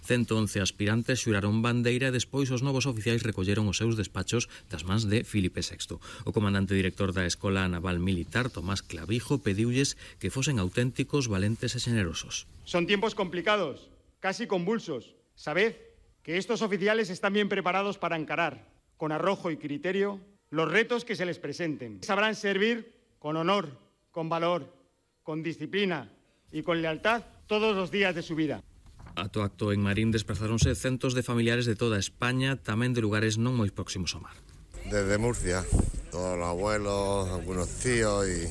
111 aspirantes xuraron bandeira e despois os novos oficiais recolleron os seus despachos das mans de Filipe VI. O comandante director da Escola Naval Militar, Tomás Clavijo, pediulles que fosen auténticos, valentes e xenerosos. Son tiempos complicados, casi convulsos. Sabed que estos oficiales están bien preparados para encarar, con arrojo y criterio, los retos que se les presenten. Sabrán servir con honor, con valor, con disciplina y con lealtad todos los días de su vida. Ato acto en Marín desplazáronse centos de familiares de toda España, tamén de lugares non moi próximos ao mar. Desde Murcia, todos los abuelos, algunos tíos y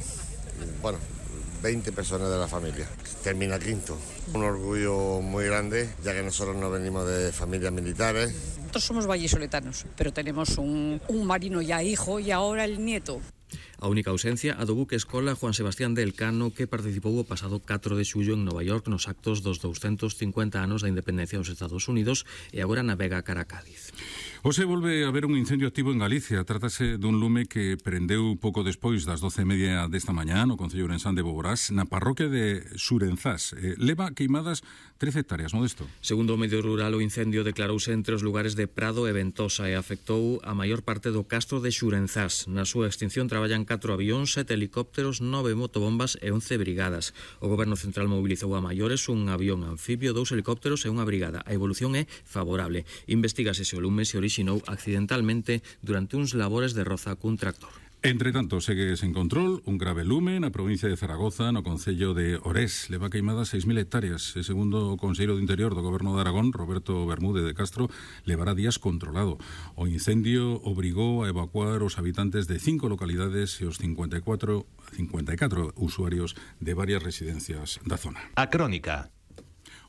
20 personas de la familia. Termina quinto. Un orgullo muy grande, ya que nosotros no venimos de familias militares. Nosotros somos vallisoletanos, pero tenemos un marino ya hijo y ahora el nieto. A única ausencia a do buque escola Juan Sebastián de Elcano, que participou o pasado 4 de xullo en Nova York nos actos dos 250 anos da independencia dos Estados Unidos e agora navega cara a Cádiz. Hoxe volve a haber un incendio activo en Galicia. Trátase dun lume que prendeu pouco despois das 12:30 desta mañá no concello ourensán de Boborás, na parroquia de Xurenzás. Leva queimadas 13 hectáreas, Modesto. Segundo o medio rural, o incendio declarouse entre os lugares de Prado e Ventosa e afectou a maior parte do castro de Xurenzás. Na súa extinción traballan 4 avións, 7 helicópteros, 9 motobombas e 11 brigadas. O Goberno Central mobilizou a maiores un avión anfibio, 2 helicópteros e unha brigada. A evolución é favorable. Investígase se o lume se orixinou accidentalmente durante uns labores de roza cun tractor. Entre tanto, segue sen control un grave lume na provincia de Zaragoza, no concello de Orés. Leva queimadas 6.000 hectáreas. E segundo o conselleiro de Interior do Goberno de Aragón, Roberto Bermúdez de Castro, levará días controlado. O incendio obrigou a evacuar os habitantes de 5 localidades e os 54 usuarios de varias residencias da zona. A Crónica.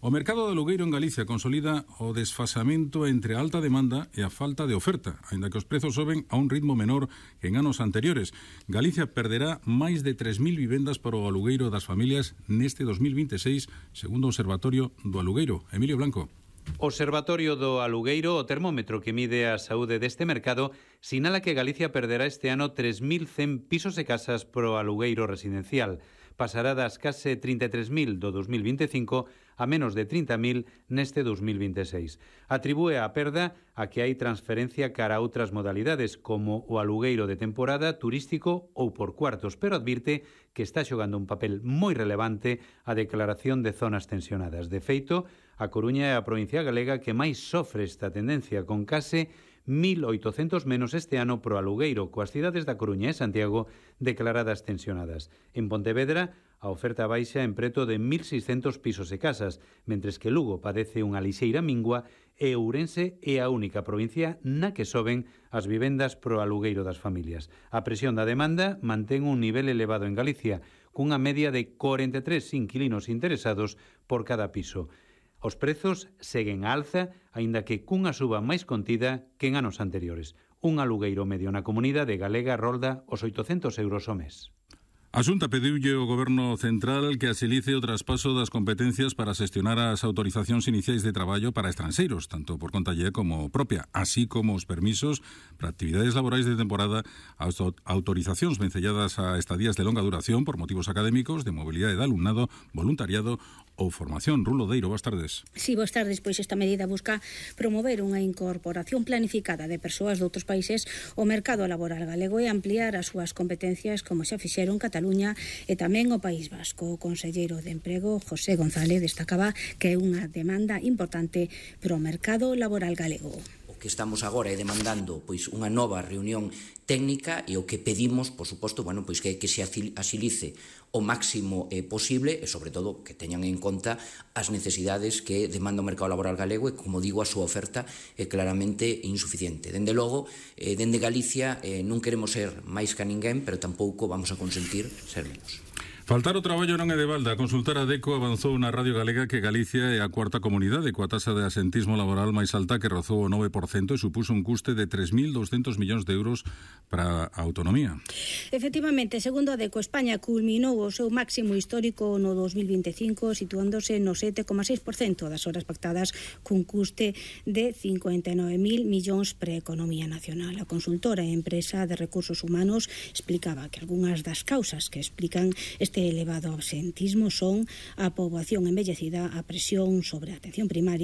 O mercado de alugueiro en Galicia consolida o desfasamento entre a alta demanda e a falta de oferta, aínda que os prezos soben a un ritmo menor que en anos anteriores. Galicia perderá máis de 3.000 vivendas para o alugueiro das familias neste 2026, segundo o Observatorio do Alugueiro. Emilio Blanco. Observatorio do Alugueiro, o termómetro que mide a saúde deste mercado, sinala que Galicia perderá este ano 3.100 pisos e casas pro alugueiro residencial. Pasará das case 33.000 do 2025 a menos de 30.000 neste 2026. Atribúe a perda a que hai transferencia cara a outras modalidades, como o alugueiro de temporada, turístico ou por cuartos, pero advirte que está xogando un papel moi relevante a declaración de zonas tensionadas. De feito, a Coruña é a provincia galega que máis sofre esta tendencia, con case 1.800 menos este ano pro alugueiro, coas cidades da Coruña e Santiago declaradas tensionadas. En Pontevedra, a oferta baixa en preto de 1.600 pisos e casas, mentres que Lugo padece unha lixeira mingua e Ourense é a única provincia na que soben as vivendas pro alugueiro das familias. A presión da demanda mantén un nivel elevado en Galicia, cunha media de 43 inquilinos interesados por cada piso. Os prezos seguen a alza, aínda que cunha suba máis contida que en anos anteriores. Un alugueiro medio na comunidade galega rolda os 800 euros ao mes. A Xunta pediulle ao Goberno Central que axilice o traspaso das competencias para xestionar as autorizacións iniciais de traballo para estranxeiros, tanto por conta lle como propia, así como os permisos para actividades laborais de temporada, as autorizacións vencelladas a estadías de longa duración por motivos académicos, de mobilidade de alumnado, voluntariado ou formación. Rulo Deiro, boas tardes. Sí, boas tardes. Pois esta medida busca promover unha incorporación planificada de persoas de outros países ao mercado laboral galego e ampliar as súas competencias como xa fixeron Cataluña e tamén o País Vasco. O conselleiro de Emprego, José González, destacaba que é unha demanda importante pro mercado laboral galego. O que estamos agora é demandando pois unha nova reunión técnica e o que pedimos, por suposto, pois que se axilice o máximo posible e, sobre todo, que teñan en conta as necesidades que demanda o mercado laboral galego e, como digo, a súa oferta é claramente insuficiente. Dende logo, dende Galicia non queremos ser máis que a ninguén, pero tampouco vamos a consentir ser menos. Faltar o traballo non é de balda. A consultora DECO avanzou na Radio Galega que Galicia é a cuarta comunidade coa taxa de asentismo laboral máis alta, que rozou o 9% e supuso un custe de 3.200 millóns de euros para a autonomía. Efectivamente, segundo a DECO, España culminou o seu máximo histórico no 2025, situándose no 7,6% das horas pactadas cun custe de 59.000 millóns para a economía nacional. A consultora e empresa de recursos humanos explicaba que algunhas das causas que explican este elevado absentismo son a poboación envellecida, a presión sobre a atención primaria